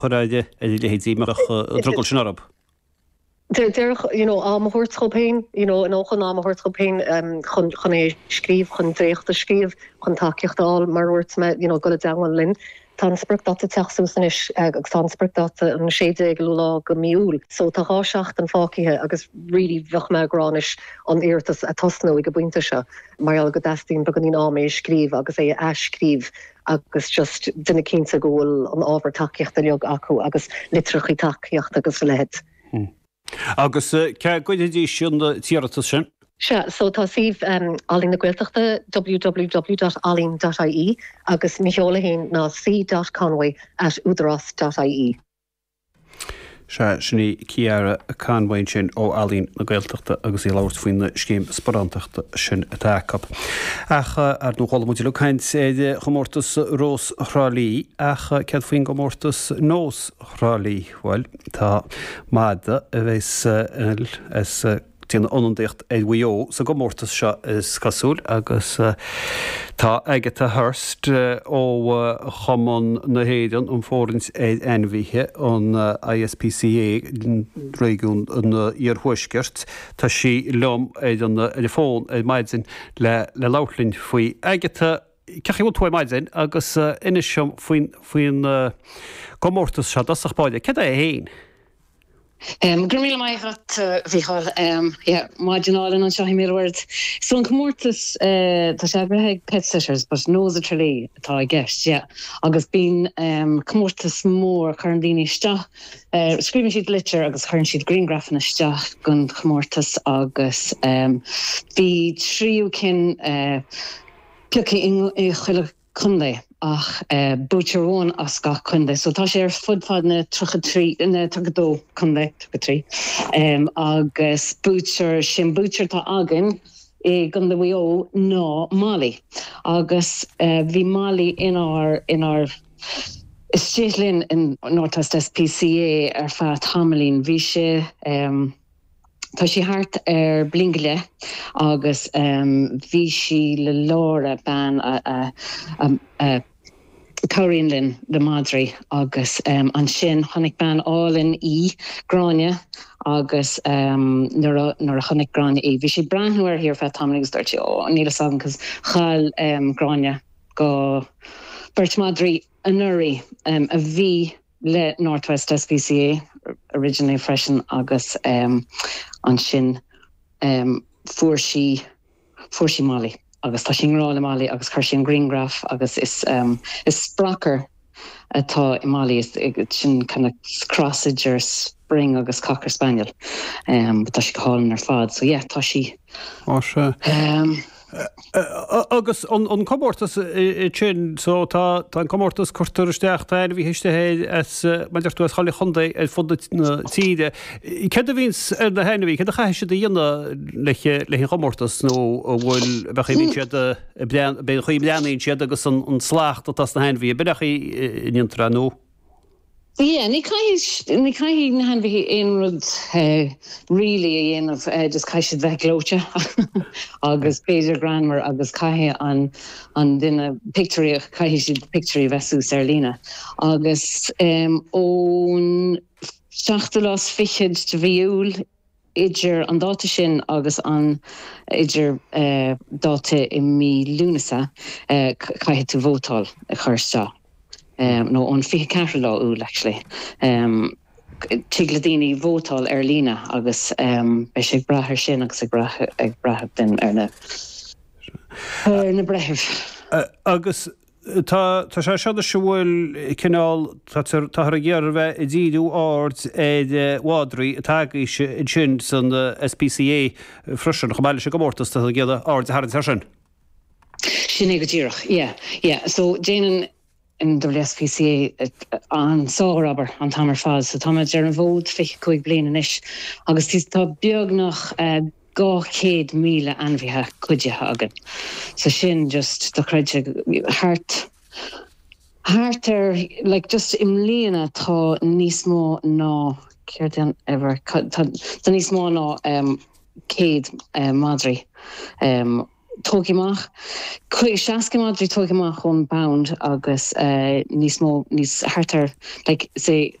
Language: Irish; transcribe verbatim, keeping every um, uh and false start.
chur ar a leithéidí mbeadh an drogall sin orthu. Déarfadh you know am a thabhairt dóibh féin you know an chun am a thabhairt dóibh féin um, chun chun é scríobh chun dréacht a scríobh chun tacaíocht a fháil mar a dúirt mé you know dul i dteagmháil linn. Tá an spriocdháta ag teacht suas anois agus tá an spriocdháta an sé déag lá de mhí Iúil. So tá dhá seachtain fágtha agus really bheadh mé ag rá anois an iarratas a thosnú ag an bpointe seo mar go dteastaíonn beagáinín am é scríobh agus é a scríobh agus just déanamh cinnte go bhfuil an ábhar tacaíochta uilig acu agus litreacha tacaíochta agus a leithéid. Hmm. Agus cá gcuirfidís an t-iarratas sin? Sea, so tá suíomh um, Ealaín na Gaeltachta www.alain.ie agus mo sheoladh féin ná c.conway at udaras.ie. Sea sin í Ciara Conway sin ó Ealaín na Gaeltachta agus í ag labhairt faoin scéim sparántachta sin atá acu. Ach ar nó chuala muid le caint ar chomórtas Rós Thrá Lí ach céard faoin gcomórtas Nós Thrá Lí bhuel tá madadh a bheas as déanamh ionadaíocht ar Mhaigh Eo sa gcomórtas seo is cosúil agus tá Agatha Hurst ó Chumann na hÉireann um Fóraint ar Ainmhithe an ISPCA réigiún an Iarthuaiscirt Tá sí liom ar an ar an bhfón ar maidin le le labhairt linn faoi Agatha cén chaoi a bhfuil tú ar maidin agus inis dom faoin faoin gcomórtas seo dosach báide, Cad é féin? Um, Gur mí maith bhíáil maidin álainn anseo i Millward. So an comórtas uh, tá sé eagraithe ag Pet Sitters, but Nós i dTrá Lí atá i gceist, yeah. agus bíonn um, comórtas mór cuireann daoine isteach. Uh, Scríobhann siad litir agus chuireann siad grianghrafanna isteach don chomórtas agus um, bhí tríú cinn uh, pioctha i chuile chontae ach uh, buaiteoir amháin as gach contae, so tá sé ar fud fad na trí na dó contae trí um, agus buaiteoir sin buaiteoir atá againn i gContae Mhaigh Eo ná Molly agus uh, bhí Molly inár inár istigh linn in North West SPCA ar feadh tamaillín bhí sé um, Tá sí thart ar bliain go leith agus um, bhí sí le Laura bean a, a, a, a cabhraíonn linn le madraí agus um, ansin chonaic bean álainn í Gráinne agus um, nuair a chonaic Gráinne í. Bhí sí breathnú uirthi ar feadh tamaill agus dúirt ó níl a cos chaill um, Gráinne go beirt madraí anuraidh um, a bhí le Northwest SPCA originally freisin agus um, ansin um, fuair sí fuair sí Molly agus tá sí i ngrá le Molly agus chuir sí an grianghraf agus is um, is sprocker atá i Molly is sin kind of cross idir Spring agus Cocker Spaniel um, tá sí hálainn ar fad so yeah tá sí se um, agus an comórtas sin so tá an comórtas cuirtear isteach ainmhithe as mar tú as chuile chontae ar fud na tíre. Cad a bhíonn ar na hainmhithe, cad a chaithfidh siad a dhéanamh le le chomórtas nó bhfuil bheith siad be chuí bleanaíonn siad agus an slacht atá na hainmhithe, bechaí intra nó? Yeah, ní ní caithfidh na hainmhithe aon rud uh, really a dhéanamh uh, just caithfidh siad bheith gleoite agus b'fhéidir greannmhar agus caithfidh an an duine pictiúirí caithfidh siad pictiúirí bheith suas ar líne. Agus um, ón seachtú lá fichead de mhí Iúil idir an dáta sin agus an idir uh, dáta i mí Lúnasa uh, caithfidh tú vótáil a chur isteach. um, nó an fiche ceathair lá Iúil actually. Um, Tig le daoine vótáil ar líne agus um, beidh sé ag brath ar sin agus ag brath ag brath den ar na ar na breithimh. Uh, agus tá tá sé seo se bhfuil cineál táthar ag iarraidh bheith ag díriú aird ar mhadraí atá agaibh sin san SPCA freisin chomh maith leis an gcomórtas tá ag iarraidh aird a tharraingt air sin. Sin é go díreach, yeah, yeah. So déanann NWSPCA an sárobair an t-am ar fad, so tá ar an bhfód fiche cúig bliana anois agus tá beagnach dhá chéad míle ainmhithe cuidithe againn. So sin just dochreidte thart thart ar like just i mbliana tá níos mó ná céard ever tá níos mó ná um, céad um, madraí um, tógtha amach seasca madraí tógtha amach ón bpound agus uh, níos mó níos thart ar like say